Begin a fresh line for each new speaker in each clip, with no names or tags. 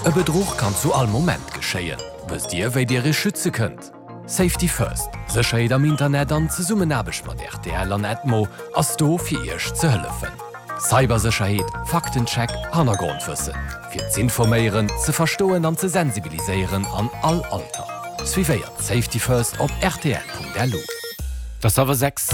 E Bedruch kann zu all Moment geschéien. Wësst Dir, wéi Dir Iech schütze kënnt? Safety First, Sécherheet am Internet an Zesummenaarbecht mat rtl an Edmo ass do fir Iech ze hëllefen. Cybersécherheet, Faktencheck, Hannergrondwëssen. Fir z'informéieren, ze verstoen an ze sensibiliséieren an all Alter. Suivéiert Safety First op rtl.lu.
Et ass hallwer 6.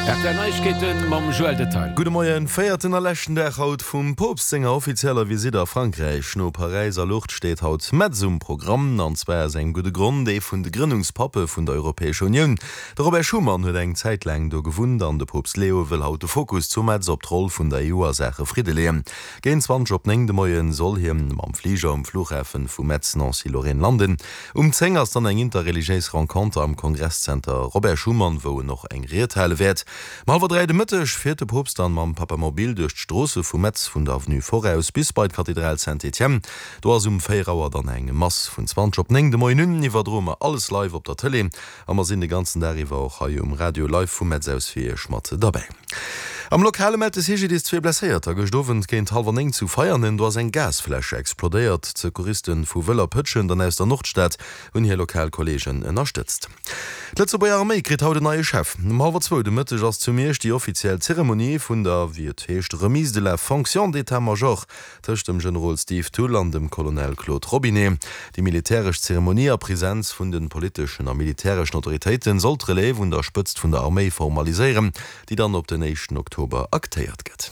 Rtl Neiegkeeten mam Joël Detail.
Gudde Moien. Véierten a leschten Dag haut vum Poopst senger offizieller Visitt a Frankräich. No Paräis a Lourdes steet haut Metz um Programm. An zwar aus engem gudde Grond, Ee vun de Grënnungspappe vun der Europäescher Unioun, De Robert Schuman huet eng Zäit laang do gewunnt an de Poopst Leo wëll haut de Fokus zu Metz op d'Roll vun der EU a Saache Fridde leeën. Géint 20 op 9 de Moie soll hien mam Fliger um Flughafen vu Metz-Nancy-Lorraine landen. Um 10 ass dann eng interreligiéis Renconter am Kongresszenter Robert Schuman, wou en och eng Ried hale wäert. Um hallwer 3 de Mëtteg fiert de Poopst dann mam Papamobil duerch d'Stroosse vu Metz vun der Avenue Foraus bis bei d'Kathedral Saint-Étienne. Do ass um 4 Auer dann eng Mass. Vun 20 op 9 de Moien un iwwerdroe mer alles live op der Tëlee. A mer sinn de ganzen Dag iwwer och hei um Radio live vu Metz aus fir Iech mat derbäi. Am Lokale mellt de CGDIS zwee Blesséierter gëscht Owend géint hallwer 9 zu Veianen. Do ass eng Gasfläsch explodéiert. D'Secouristen vu Wëller, Pëtschent an aus der Nordstad hunn hir lokal Kolleegen ënnerstëtzt. D'Lëtzebuerger Arméi kritt haut en neie Chef. Um hallwer zwou de Mëtteg ass zu Miersch déi offiziell Zeremonie vun der, wéi et heescht, Remise de la fonction d'état-major Tëscht dem Generol Steve Thull an dem Colonel Claude Robinet. Déi militäresch Zeremonie a Presenz vun de politeschen a militäreschen Autoritéiten soll d'Relève un der Spëtzt vun der Arméi formaliséieren, déi dann op den éischten Oktober aktéiert gëtt.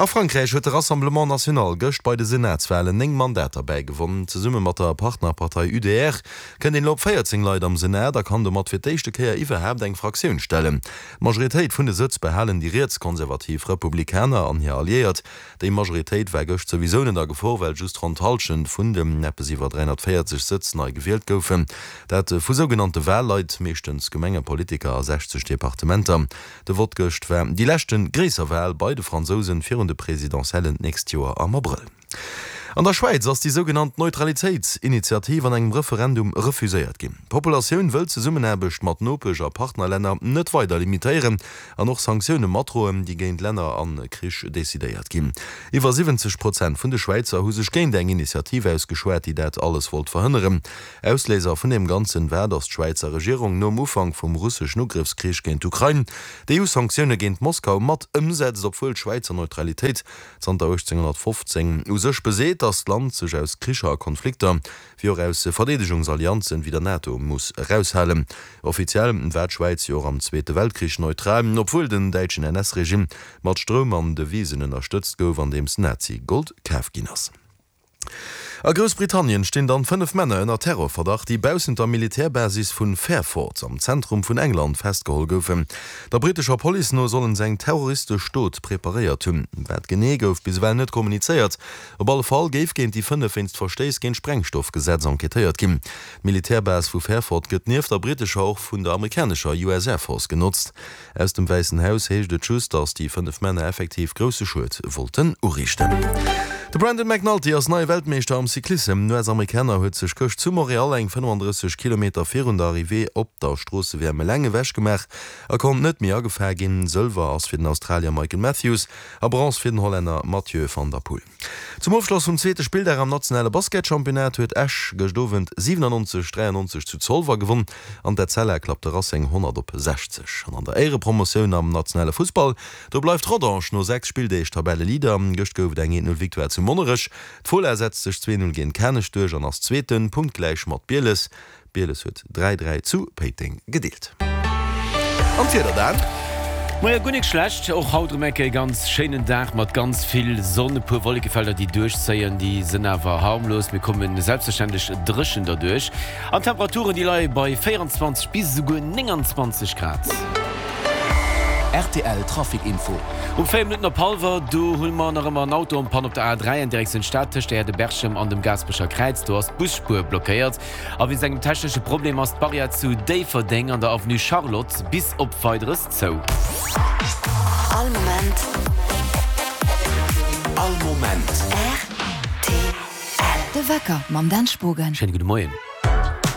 A Frankräich huet de Rassemblement National gëscht bei de Senatswalen 9 Mandater bäigewonn. Zesumme mat der Partnerpartei UDR kënnt een elo op 14 Leit am Senat a kann domat fir d'éischte Kéier iwwerhaapt eng Fraktioun stellen. D'Majoritéit vun de Sëtz behalen déi rietskonservativ Republikaner an hir Alliéiert. Déi Majoritéit war gëscht souwisou net a Gefor, well just ronn d'Hallschent vun den eppes iwwer 340 Sëtz nei gewielt goufen. Dat vu sougenannte Wahlleit, meeschtens Gemengepolitiker a 60 Departementer. De Vott gëscht war déi leschte gréisser Wahl bei de Fransousen virun de Presidentiellen d'nächst Joer am Abrëll. An der Schwäiz ass déi sougenannt Neutralitéitsinitiativ an engem Referendum refuséiert ginn. D'Populatioun wëll d'Zesummenaarbecht mat Nopesch a Partnerlänner net weider limitéieren an och Sanktioune matdroen, déi géint Länner a Krich decidéiert ginn. Iwwer 70 Prozent vun de Schwäizer hu sech géint eng Initiativ ausgeschwat, déi dat alles wollt verhënneren. Ausléiser vun deem Ganzen war, datt d'Schwäizer Regierung nom Ufank vum russeschen Ugrëffskrich géint d'Ukrain d'EU-Sanktioune géint Moskau mat ëmsetzt, obwuel d'Schwäizer Neutralitéit zanter 1815 u sech beseet, datt d'Land sech aus Kricher a Konflikter, wéi och aus Verdeedegungsallianzen wéi der NATO muss eraushalen. Offiziell war d'Schwäiz jo och am Zweete Weltkrich neutral, obwuel den däitschen NS-Regime mat Stroum an Devisen ënnerstëtzt gouf, andeems Nazi-Gold kaf ginn ass. A Groussbritannien stinn dann 5 Männer ënner Terrorverdacht, déi baussent der Militärbasis vun Fairford am Zentrum vun England festgeholl goufen. Der brittescher Police no sollen se eng terroristesch Dot preparéiert hunn. Wat genee gouf bis ewell net kommunizéiert. Op alle Fall géif géint déi 5 wéinst Verstéiss géint d'Sprengstoffgesetz enquêtéiert ginn. D'Militärbase vu Fairford gëtt nieft der brittescher och vun der amerikanescher US Air Force genotzt. Aus dem Wäissen Haus heescht et just, datt déi 5 Männer effektiv grousse Schued wollten uriichten. De Brandon McNulty ass neie Weltmeeschter am Cyclissem. Den US-Amerikaner huet sech gëscht zu Montréal eng 35 Kilometer virun der Arrivée op der Stroosse-WM eleng ewech gemaach a konnt net méi agefaang ginn. Sëlwer ass fir den Australier Michael Matthews a Bronze fir den Hollänner Mathieu van der Poel. Zum Ofschloss vum zweete Spilldag am nationale Basketchampionnat huet Esch gëscht Owend 97, 93 zu Zolwer gewonn an d'Etzella klappt de Racing 100 op 60. An an der Éierepromotioun am nationale Fussball, do bleift Rodange no 6 Spilldeeg Tabelleleader. Gëscht gouf et eng 1, 0 Victoire zu Monnerech. D'Fola setzt sech 2, 0 géint Kanech duerch an ass Zweeten, punktgläich mat Bieles. Bieles huet 3, 3 zu Péiteng gedeelt. An d'Wieder dan?
Moie, guer nik schlecht, och haut erëm eng Kéier e ganz schéinen Dag mat ganz vill Sonn. E puer Wollekefelder déi duerchzéien, déi sënn awer harmlos. Mir komme selbstverständlech dréchen derduerch an d'Temperaturen déi leie bei 24 bis esouguer 29 Grad.
Rtl Trafic Info.
Um 4 Minutten op hallwer, do hu mer nach ëmmer en Auto en panne op der A3 an Direktioun Stad tëscht der Aire de Berchem an dem Gaasperecher Kräiz. Do ass d'Busspuer blockéiert. A wéinst engem technesche Problem ass d'Barrière zu Déifferdeng an der Avenue Charlotte bis op Weideres zou.
All Moment.
All Moment.
Rtl. De Wecker mam Dan Spogen.
Schéine gudde Moien.